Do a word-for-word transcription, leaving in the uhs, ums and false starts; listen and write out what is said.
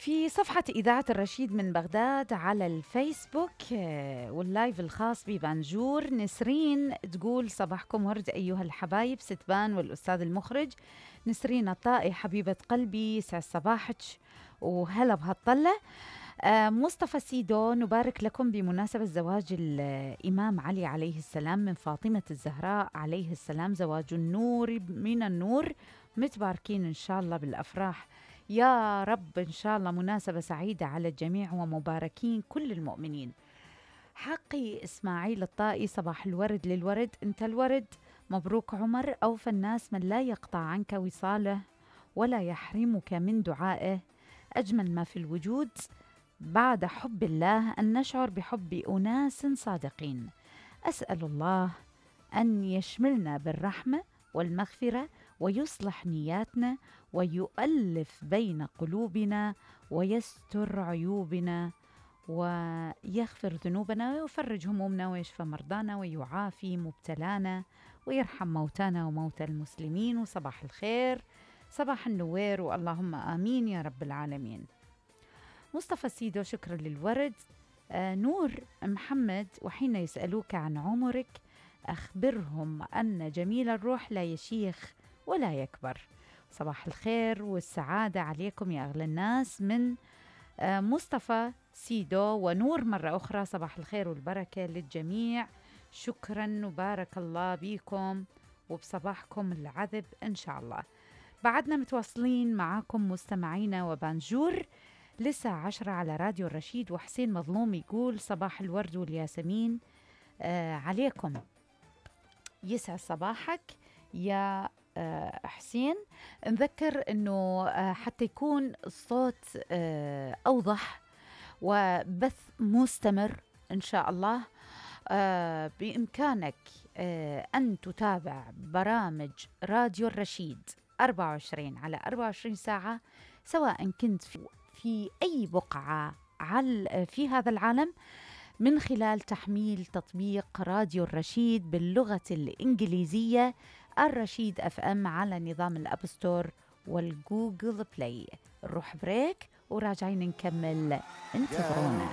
في صفحة إذاعة الرشيد من بغداد على الفيسبوك آه، واللايف الخاص ببانجور، نسرين تقول صباحكم ورد أيها الحبايب ستبان والأستاذ المخرج. نسرين الطائي حبيبة قلبي، يسعد صباحك وهلا بهالطلة. آه، مصطفى سيدو، نبارك لكم بمناسبة زواج الإمام علي عليه السلام من فاطمة الزهراء عليه السلام، زواج النور من النور، متباركين إن شاء الله بالأفراح يا رب، إن شاء الله مناسبة سعيدة على الجميع ومباركين كل المؤمنين. حقي إسماعيل الطائي، صباح الورد للورد، أنت الورد، مبروك عمر، أوفى الناس من لا يقطع عنك وصاله ولا يحرمك من دعائه. أجمل ما في الوجود بعد حب الله أن نشعر بحب أناس صادقين. أسأل الله أن يشملنا بالرحمة والمغفرة ويصلح نياتنا ويؤلف بين قلوبنا ويستر عيوبنا ويغفر ذنوبنا ويفرج همومنا ويشفى مرضانا ويعافي مبتلانا ويرحم موتانا وموتى المسلمين. وصباح الخير، صباح النوير، واللهم آمين يا رب العالمين. مصطفى سيدو، شكرا للورد. آه نور محمد، وحين يسألوك عن عمرك أخبرهم أن جميل الروح لا يشيخ ولا يكبر. صباح الخير والسعادة عليكم يا أغلى الناس من آه مصطفى سيدو ونور مرة أخرى. صباح الخير والبركة للجميع، شكرا وبارك الله بيكم وبصباحكم العذب إن شاء الله. بعدنا متواصلين معاكم مستمعينا وبانجور لسه عشرة على راديو الرشيد. وحسين مظلوم يقول صباح الورد والياسمين آه عليكم، يسعد صباحك يا آه حسين. نذكر أنه آه حتى يكون الصوت آه أوضح وبث مستمر إن شاء الله، آه بإمكانك آه أن تتابع برامج راديو الرشيد أربعة وعشرين على أربعة وعشرين ساعة، سواء كنت في, في أي بقعة على في هذا العالم، من خلال تحميل تطبيق راديو الرشيد باللغة الإنجليزية الرشيد أف أم على نظام الأب ستور والجوجل بلاي. نروح بريك وراجعين نكمل، انتظرونا.